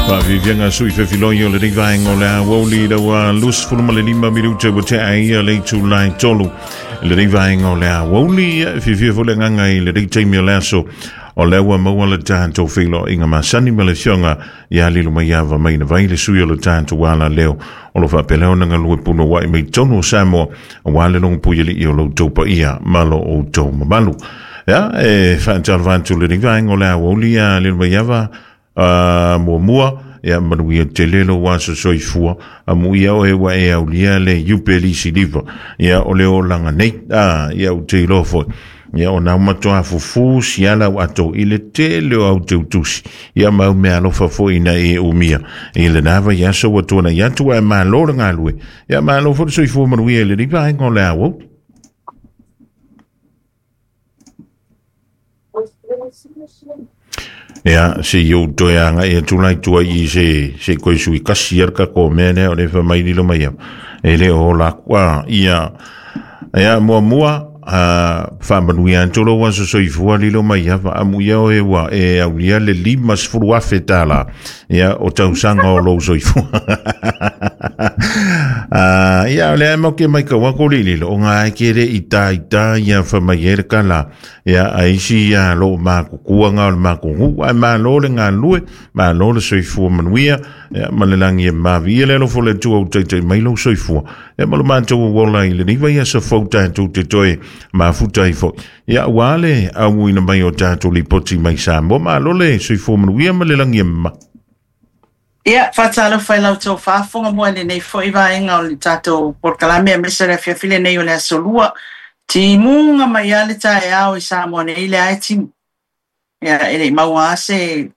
Faafiafiaga sui fefiloi o lenei vaega o le aoauli i ua 25 minute ua tea ia le itula e 3 i lenei vaega o le aoauli. Ia, e fiafia foi le agaga i lenei taimi o le aso o lea ua maua le tatou feiloaiga masani ma le afioga ia Lilomaiava Mainavai, le sui o le tatou alaleo o lo faapea ona galue punouai mai totonu o Samoa aua le logopuialii o lo outou paia ma lo outou mamalu. Ia, e faatalofa atu i lenei vaega o le aoauli ia Lilomaiava. Muamua, ia manuia tele lou aso soifua, amuia oe ua e aulia le iupeli siliva, ia o le olaga nei. Ia ou te iloa foi, ia o nau matoa fufu siala au ato i le tele o au teutusi, ia ma au mea alofa foi ina e umia i lena vaiaso ua tuanai atu, ae malo le galue, ia malo foi le soifua manuia i lenei vaega o le aoauli. Ia, se i ou toe agai atu la i tua i se koe sui kasi ia le tatou mea lea o le fai mai lilo mai au. E le o ola aku. Ia, ia, muamua, faamanuia atu lou aso soifua lilo mai ava. Amuia oe ua e aulia le $50,000, ia, o tausaga o lou soifua. Ia, o lea e mau ke mai kau aku li lilo, o ngā e ke le i tā i tā ia fa mai e le kala. Ia, a isi ia lo makukua ngā o le makugu, ai malo le galue, malo le soifua manuia, ia, ma le langi e mavi ia le alofo le tua u taitai mai lou soifua. Ia, ma lo mātou uola i le niva ia sa fau tātou te toe mafuta i foi. Ia, ua le auina mai o tātou lipoti mai Samoa, malo le soifua manuia ma le langi e ma. Ia, faatalofa i la outou faafofoga mo lenei foi vaega o le tatou polokalame aemaise le afiafi lenei o le aso Lua. Timuga mai lava le taeao i Samoa nei, lea e timu. Ia, e le i maua lava se